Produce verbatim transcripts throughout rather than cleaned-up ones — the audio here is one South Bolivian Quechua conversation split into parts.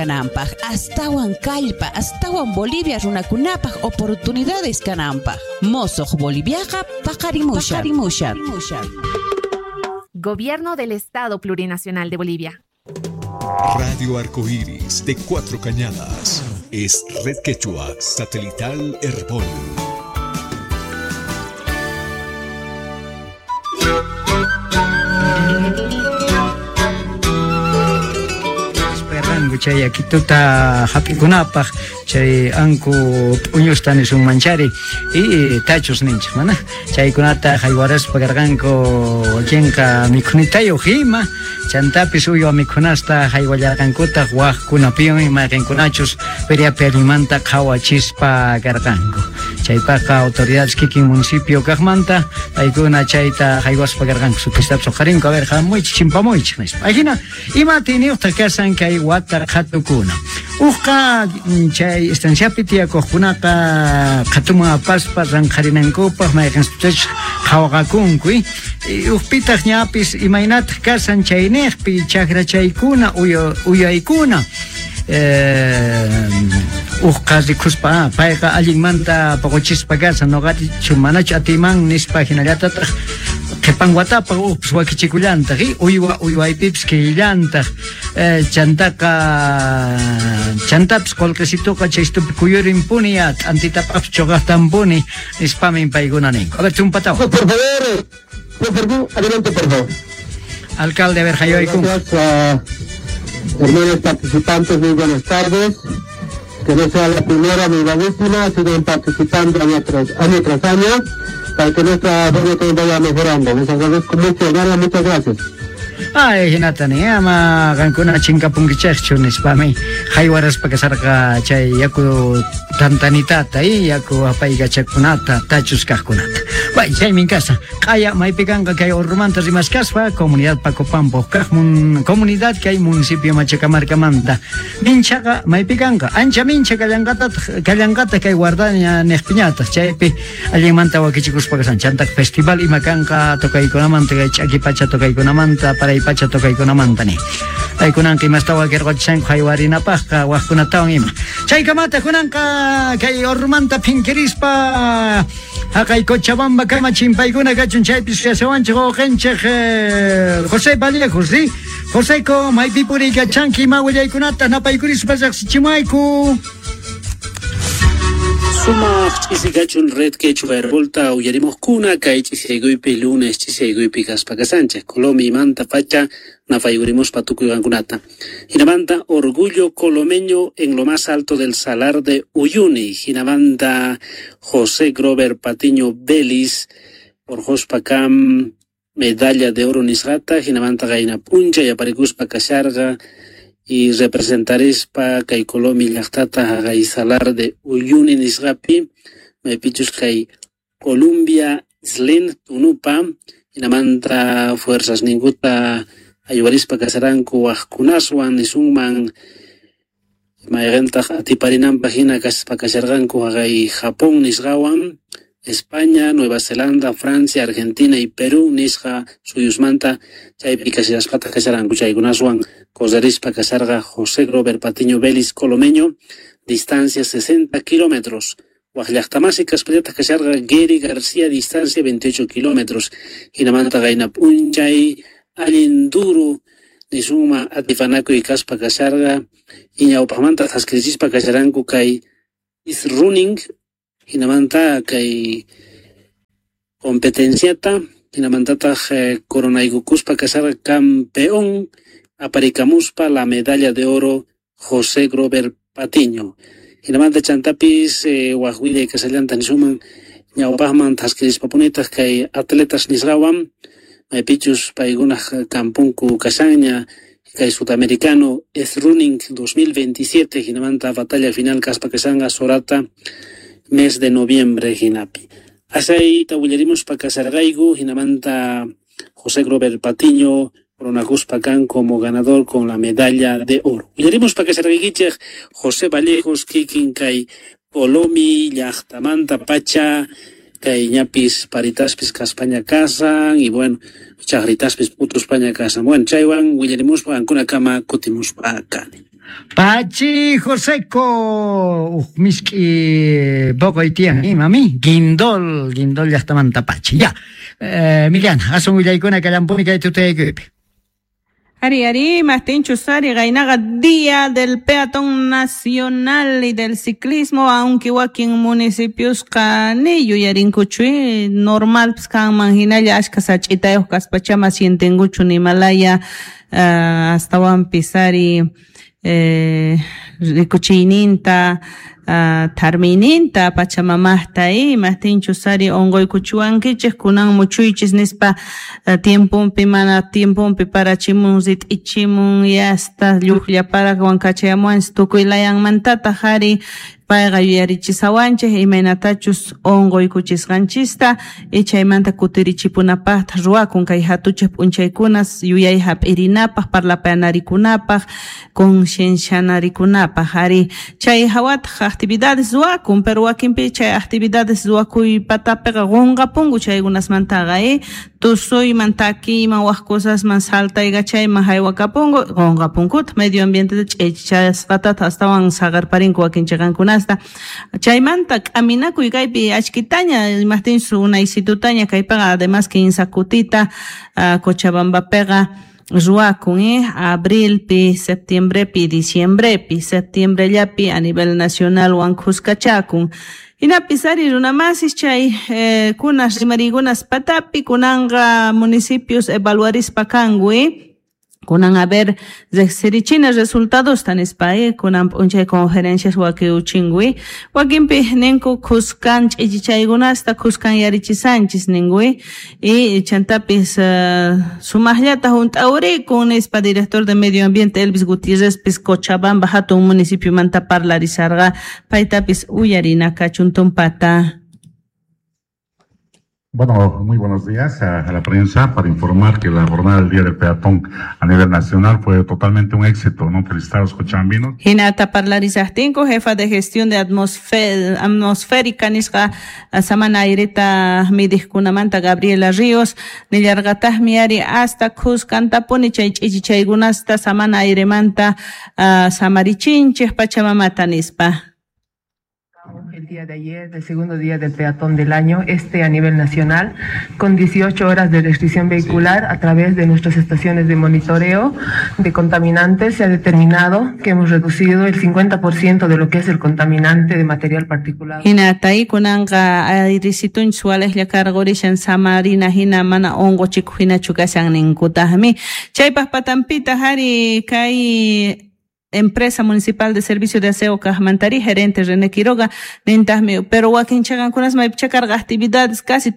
Kananpaj, astawan kallpa, astawan Bolivia runakunapaj oportunidades kananpaj. Mosoj Boliviaqa paqarimushan. Paqarimushan. Gobierno del Estado Plurinacional de Bolivia. Radio Arcoíris de Cuatro Cañadas es Red Quechua Satelital Herbol. Chay akituta hap'ikunapaq chay anku p'uñusta nisun manchari y tachus ninchik mana chaykunata haywaraspa karqanku wakinqa mikhunitayuq ima chantapis uywa mikhunasta haywallarqankutaq waqkunapiwan mayqinkunachus feriapi allinmanta qhawachispa karqanku chaypaqqa autoridades kikin municipio kaqmanta paykuna chayta haywaspa karqanku sutistapis uqharinku a ver hamuychik chimpamuychik nispa ajina ima atiyniyuqtaq kasan kay wata qhatukuna uqqa chay estanciapi tiyakuqkunaqa qhatuman apaspa ranqharinankupaq mayqinchus qhawaqakunku uqpitaq ñapis imaynataq kasan chayniqpi chakrachaykuna uyaykuna uqqa rikuspa payqa allinmanta poqochispa kasan noqachu manachu atiman nispa hinallatataq qhipan watapaq uqpis wakichikullantaq uywa uywaypipis killantaq chantaqa chantapis qullqisituqa chaystupi kuyurinpuni ya t'antitapaqpis chuqaqtanpuni nispamin paykuna ninku. A ver, chumpatawan. Por favor, adelante, por favor. Alcalde, a ver, haywaykunku. Gracias, hermanos participantes, muy buenas tardes. Que no sea la primera ni la última, sigan participando año tras año, tras año para que nuestra feria también vaya mejorando. Les agradezco mucho, hermano, muchas gracias. Ay, hinatani, ama qankuna chinkapunkichaqchu nispami haywaraspa kasarqa chay yaku tantanitata y yaku apaykachakunata tachus kaqkunata. Bay, chaymin kasa. Q'aya maypi kanqa kay Orrumanta rimaskaspa comunidad Pacopampo kaq mun, comunidad kay municipio Machacamarcamanta. Minchaqa maypi kanqa ancha mincha kallanqatataq kallanqata kay guardaña niqpiñataq chaypi allinmanta wakichikuspa kasan chantaq festival ima kanqa tokaykunamanta kay ch'aki pacha tokaykunamanta paray pacha tokaykunamanta ni. Paykunanqa imasta wakirqachishanku haywarinapaqqa waqkunatawan ima. Chaykamata kunanqa kay Orrumanta phinkirispa haqay Cochabamba kama chimpaykuna kachun chaypis yasawanchik wawqinchik José Vallejos, ¿sí? Joseco, maypi puriykachanki ima willaykunata napaykurispa riqsichimayku. Sumaq ch'isikachun Red Quechua Herbolta uyarimuqkuna kay ch'isiyaykuypi lunes ch'isiyaykuypi kaspa kasanchik Colomimanta pacha napayurimuspa tukuy qankunata. Hinamanta orgullo colomeño en lo más alto del Salar de Uyuni. Hinamanta José Grover Patiño Vélez orqhuspa kam medalla de oro nisqata hinamanta qayna p'unchay aparikuspa kasharqa y representarispa kay Colomi llaqtata haqay Salar de Uyuni nisqapi maypichus kay Columbia Slen Tunupa hinamanta fuerzas ninkuta ayuwarispa kasaranku waqkunaswan nisunman mayqintaq atiparinanpaq hina kaspa kasharqanku haqay Japón nisqawan España, Nueva Zelanda, Francia, Argentina y Perú nisqa suyusmanta chaypi kashaspataq kasharanku chaykunaswan correrispa kasharqa José Grover Patiño Vélez Colomeño, distancia sesenta kilómetros. Waq llaqtamasi kaspallataq kasharqa Gary García, distancia veintiocho kilómetros. Hinamanta qayna p'unchay allin duro nisuma atipanakuy kaspa kasharqa iñawpaqmanta thaskirichispa kasharanku kay is running hinamanta kay competenciata hinamantataq eh, coronaykukuspa kasharqa campeón aparikamuspa la medalla de oro José Grover Patiño. Hinamanta chantapis eh, waq willay kasallanta nisuman ñawpaqman thaskirispapunitaq kay atletas nisqawan maypichus paykunaq kampunku kashanña kay sudamericano es running dos mil veintisiete hinamanta batalla final kaspa kashanqa Sorata mes de noviembre hinapi. Asayta willarimuspa kasarqayku hinamanta José Grover Patiño coronakuspa kan como ganador con la medalla de oro. Willarimuspa kasarqaykichik José Vallejos kikin kay Colomi llaqtamanta pacha Kay ñapis paritaspis kaspaña kasan y bueno, chaqritaspis p'utuspaña kasan. Bueno, chaywan willarimuspa qankunakama kutimuspa kani. Pachi Joseco, miski poco tiyan, mami, guindol, guindol llaqtamanta Pachi. Ya, eh, Miliana, asun willaykuna kallampuni kay tutayaykupi. Ari, ari, Martín Chusari, Gainaga, Día del Peatón Nacional y del Ciclismo, aunque wakin municipios ni yuyarinkuchu, normal, pues, kanman hinalla, ashka sach'itayuq kaspachama sientenkuchu nimalaya, uh, astawanpis ari, eh, rikuchiyninta, uh, tarmiyninta, pachamamaqta, y Martín Chusari onquykuchuwankichik, kunan muchuychis nispa, uh, tiemponpi mana tiemponpi parachimun rit'ichimun yasta lluqlla parawan kachayamuwanchis tukuy layanmantataq ari payqa yuyarichisawanchik imaynatachus onquykuchisqanchista y chaymanta kutirichipunapaqtaq ruwakun kay hatuchik p'unchaykunas yuyay hap'irinapaq parlapayanarikunapaq conciencianarikunapaq ari chay hawataq actividades ruwakun pero wakinpi chay actividades ruwakuypatapiqa qunqapunku chaykunasmantaqa eh tusuyman takiyman wak cosasman saltaykachayman haywakapunku qunqapunkutaq medio ambienteta ch'ichichasqatataq astawan saqarparinku wakin chiqankunasta chaymanta k'aminakuy kaypi achkitaña imaqtinchus unaysitutaña kaypiqa además kinsa kutita uh, Cochabambapiqa ruwakun eh abrilpi septiembrepi diciembrepi septiembrellapi a nivel nacional wan khuskachakun hinapis ari runamasis chay eh, kunas rimariykunas patapi kunanqa municipios evaluarispa kanku eh kunan a ver riqsirichina resultadosta nispa eh kunan p'unchay conferencias wakiuchinku eh wakinpi ninku khuskan ch'ichichaykunasta khuskan yarichisanchis ninku eh y chantapis uh, sumaqllata hunt'awrikun nispa director de medio ambiente Elvis Gutiérrezpis Cochabamba hatun municipiomanta parlarisarqa paytapis uyarina kachun tumpata. Bueno, muy buenos días a, a la prensa para informar que la jornada del Día del Peatón a nivel nacional fue totalmente un éxito, ¿no? Felicitar a los cochabambinos. Hinata parlarisaqtinku, jefa de gestión de atmosférica nisqa samana aireta midiqkunamanta Gabriela Ríos, nillarqataqmi ari hasta khuskantapuni chay ch'ichichaykunasta samana airemanta uh, samarichinchik pachamamata nispa. El día de ayer, el segundo día del peatón del año, este a nivel nacional, con dieciocho horas de restricción vehicular a través de nuestras estaciones de monitoreo de contaminantes, se ha determinado que hemos reducido el cincuenta por ciento de lo que es el contaminante de material particulado. Hinatay kunanqa ayrisitun sualejlla karqurishan samarina hina mana unquchikuq hinachu kashan ninkutaqmi. Chaypaq patampita hari kay Empresa Municipal de Servicio de Aseo Kajmantari, gerente René Quiroga, nintaqmi, pero wakin chaqankunas maypicha karqa actividades casi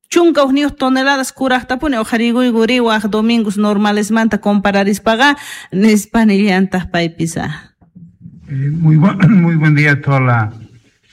chunka hukniyuq toneladas kuraqtapuni uqharikuykuri waq domingos normalesmanta compararispaqa nispa nillantaq paypisa. Eh, muy, bu muy buen día a toda la,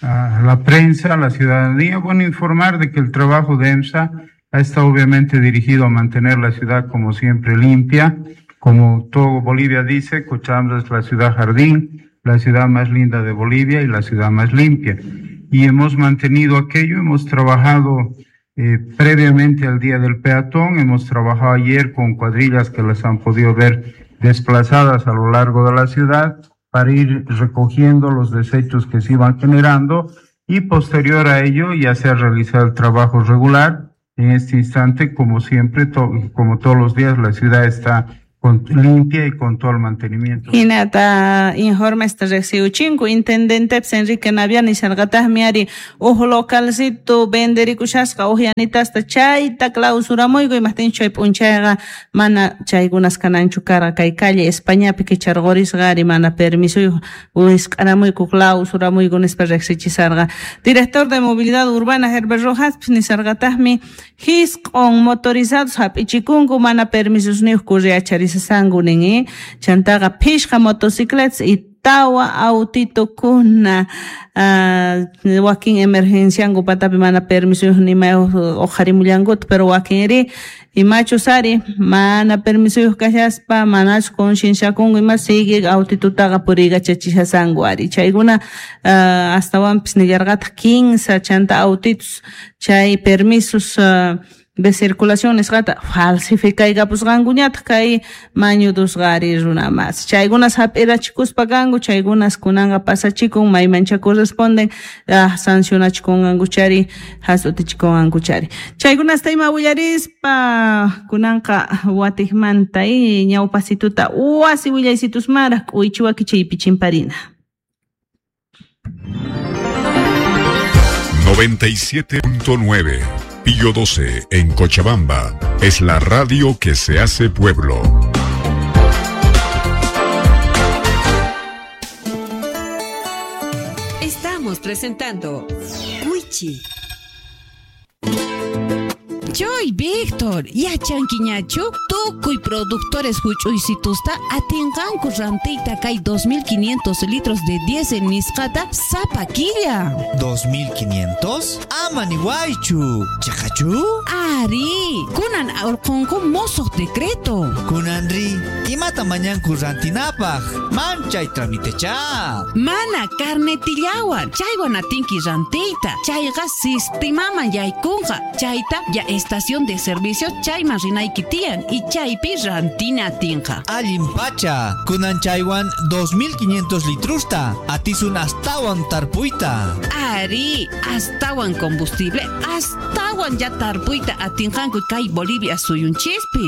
a la prensa, a la ciudadanía. Bueno, informar de que el trabajo de EMSA ha estado obviamente dirigido a mantener la ciudad como siempre limpia. Como todo Bolivia dice, Cochabamba es la ciudad jardín, la ciudad más linda de Bolivia y la ciudad más limpia. Y hemos mantenido aquello, hemos trabajado eh, previamente al Día del Peatón, hemos trabajado ayer con cuadrillas que las han podido ver desplazadas a lo largo de la ciudad para ir recogiendo los desechos que se iban generando y posterior a ello ya se ha realizado el trabajo regular. En este instante, como siempre, to- como todos los días, la ciudad está con, limpia y con todo el mantenimiento. Hinata informesta riqsiuchinku intendentepis Enrique Naviani nisharqataqmi ari uj localcito venderikushasqa uqyanitasta chayta clausuramuyku imaqtinchu chay p'unchayqa mana chaykunas kananchu karqa kay calle Españapi kicharqurisqa ari mana permisuyuq wisq'aramuyku clausuramuyku nispa riqsichisarqa. Director de Movilidad Urbana Herbert Rojaspis nisharqataqmi hisq'un motorizados hap'ichikunku mana permisosniyuq kurriacharisqanku nin eh chantaqa phishqa motocicletas y tawa autitukuna uh, wakin emergencianku patapi mana permisuyuq nimayuq uqharimullankuta pero wakinri Imachus ari mana permisoyuq kashaspa manachu concienciakunku ima sigue autitutaqa puriykachachishasanku ari chaykuna uh, astawanpis nillarqataq kinsa chanta autitus chay permisos uh, de circulación nisqata falsificaykapusqankuñataq kay mañudusqa ari runa mas chaykunas hap'irachikuspa kanku chaykunas kunanqa pasachikun maymancha corresponden ah, sancionachikunqankuchari has'utichikunqankuchari chaykunasta ima willarispa kunanqa watiqmanta y ñawpasituta wasi willaysitusmaraq k'uychiwaki chaypi chimparina. noventa y siete punto nueve Pío doce en Cochabamba es la radio que se hace pueblo. Estamos presentando Wichi. Joy Víctor, yachankiñachu tukuy productores huch'uysitusta atinqanku rantiyta kay dos mil quinientos litros de diésel nisqata sapa killa. ¿dos mil quinientos? Ama niwaychu, chaqachu? Ari, kunan urqunku mosuq decreto. Kunanri, imata mañanku rantinapaq, manchay tramitecha. Mana carnetillawan, chaywan atinki rantiyta, chayqa sistimaman yaykunqa, chayta ya estación de servicio chayman rinayki tiyan y chaypi rantina atinqa. Allin pacha, kunan chaywan dos mil quinientos litrusta, atisun astawan tarpuyta. Ari, astawan combustible, astawan ya tarpuyta atinqanku kay Bolivia suyunchispi.